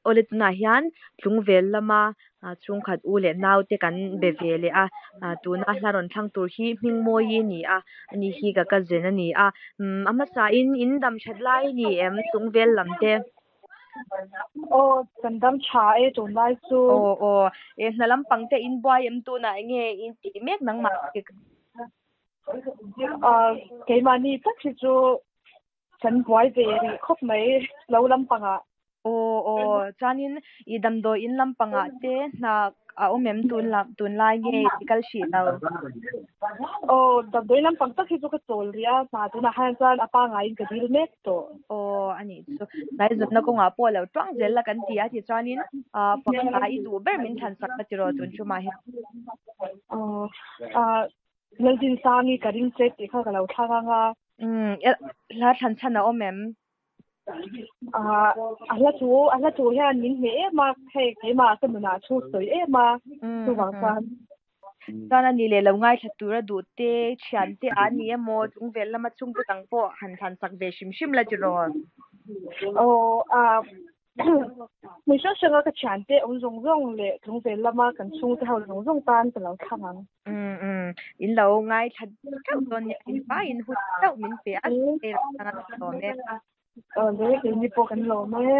Awle tunah hian tlungvel lama chhungkhat u leh nau te kan be ve leh a, tuna hla rawn thlang tur hi Hmingmawii a ni a, ani hi ka cousin a ni a, umm a hmasa in in dam that lai a ni em tlungvel lam te? Aw kan dam tha e tunlai chu. Aw aw e hna lampang te in buai em tunah enge in tih mek nangmah? Keimahni tak hi chu Kan buai ve rih khawp mai lo lampangah. Aw aw, chuanin i damdawi in lampangah te hna a awm em tun lam tunlai nge i kal hrih lo? Aw, damdawi lampang tak hi chu ka chawl rih a, hna tunah hian chuan a pangaiin ka dil mek tawh. Aw, a nih chu. Hnaizawnna kawngah pawh lo tuang zel la kan ti a, tichuanin fak i duh ber min thlan sak la tiraw tun tumah hian. Aw, Laldinsang i ka ring che tih kha ka lo thlang ang a. Umm, hla thlan chhan a awm em? Ah, a hla thu, a hla thu hian min hneh em a, hei keimah ka nunah thu sawi em a, chuvang chuan. Chuan a ni leh lo ngaithla tura duh te, thian te a ni emaw, chungvel lama chhungte dang pawh han thlan sak ve hrim hrim la tiraw? Aw, ah, Hmun hrang hranga ka thiante awm zawng zawng leh tlungvel lama kan chhungte ho zawng zawng tan ka lo thlang ang. Umm umm, in lo ngaithla theuh dawn nia, in faiin hun theuh min pe a, hei ram anga ka lawm e. Aw le, keini pawh kan lawm e.